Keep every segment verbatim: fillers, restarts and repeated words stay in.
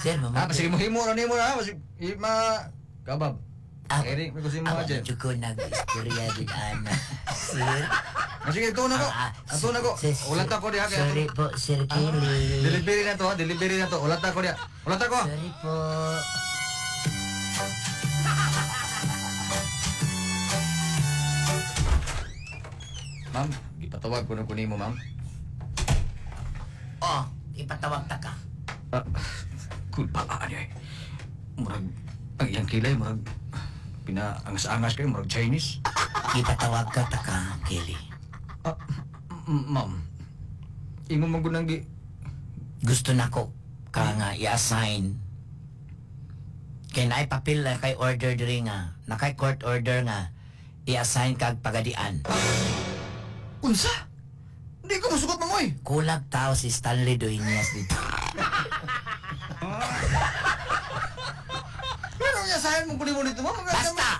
Sir, Ah, mama. sige mo himo ra nimo na, masig ma kabab. Ah, Eric, may kusin mo Ako aje. na ko nag-istorya gid ana. Sir. Ah, sige, ito na ko. Ah, Ato na ko. sir, sir, Ulat ako diha kay Sorry po, Sir Kelly. Delivery na to, ha? Delivery na to. Ulat ako diha. Ulat ako. Sorry po. Ma'am, gipatawag ko na ko nimo, ma'am. Oh, ipatawag ta ka. Ah, kulpa ani ay. Murag ang iyang kilay murag pinaangas-angas kayo murag Chinese. Ipatawag ka ta ka, Kelly. Ah, m- ma'am. Imo man gud nang gi Gusto nako ka nga i-assign. Kay naay papel na kay order diri nga, nakay court order nga i-assign kag pagadian. Unsa? Hindi ko musugot ma'am oy. Kulag tao si Stanley Dueñas dito. Pero niya sayan mo kunin mo dito, ma'am. Basta!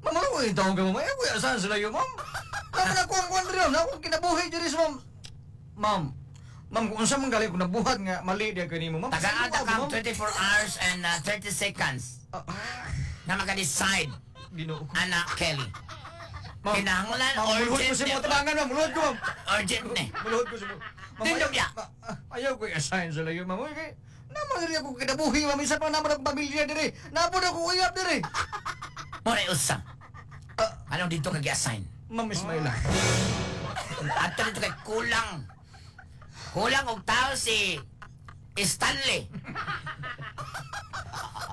Ma'am, ano ko yung taong ka, ma'am? Ay, kuya, saan sila yun, ma'am? Naman ako ang kwan rin, ma'am. Ako kinabuhi diri sa ma'am. Ma'am, ma'am, kung unsa man gali kung nabuhat nga mali diya kanimo, ma'am. Tagaan ta Sino kang ma'am? twenty-four hours and uh, thirty seconds Ah, na maka-decide, Ginoo ko. Anak Kelly. Ma'am, Kinahanglan ma'am, muluhod ko urgent sa ni. mga tabangan, ma'am. Muluhod ko, ma'am. Urgent ni. Muluhod ko sa mga... Ma'am, Tindog ayaw- niya. ma- ah, Ayaw ko i-assign sa layo, ma'am. Uy, kay... Naman diri ako kinabuhi, ma'am. Isa pa naman ako pamilya diri. Napod ako uyab diri. Muna usa. Ah. Anong dito kag i-assign? Ma'am Ismaila. Ato dito kay kulang. Kulang og tao si Stanley.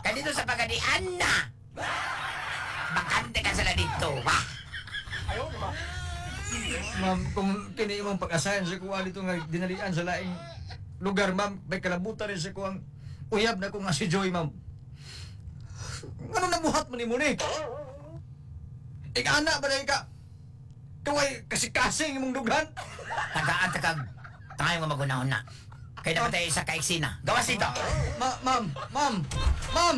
Kay dito sa pagadian na. Bakante ka sila dito. Wah! Ma'am, kung kini imong pag-assign sa kuha dito nga dinalian sa laing lugar, ma'am, may kalabutan rin sa kuang uyab na ko nga si Joy, ma'am. Ano nabuhat mo ni mo ni? Ika-ana ba na ika? Kaway kasi-kasing imong dughan? Tagaan ta kag tayo nga magunahon na. Kay dapat tayo isa ka eksena. Gawas dito. Ma ma'am, ma'am, ma'am!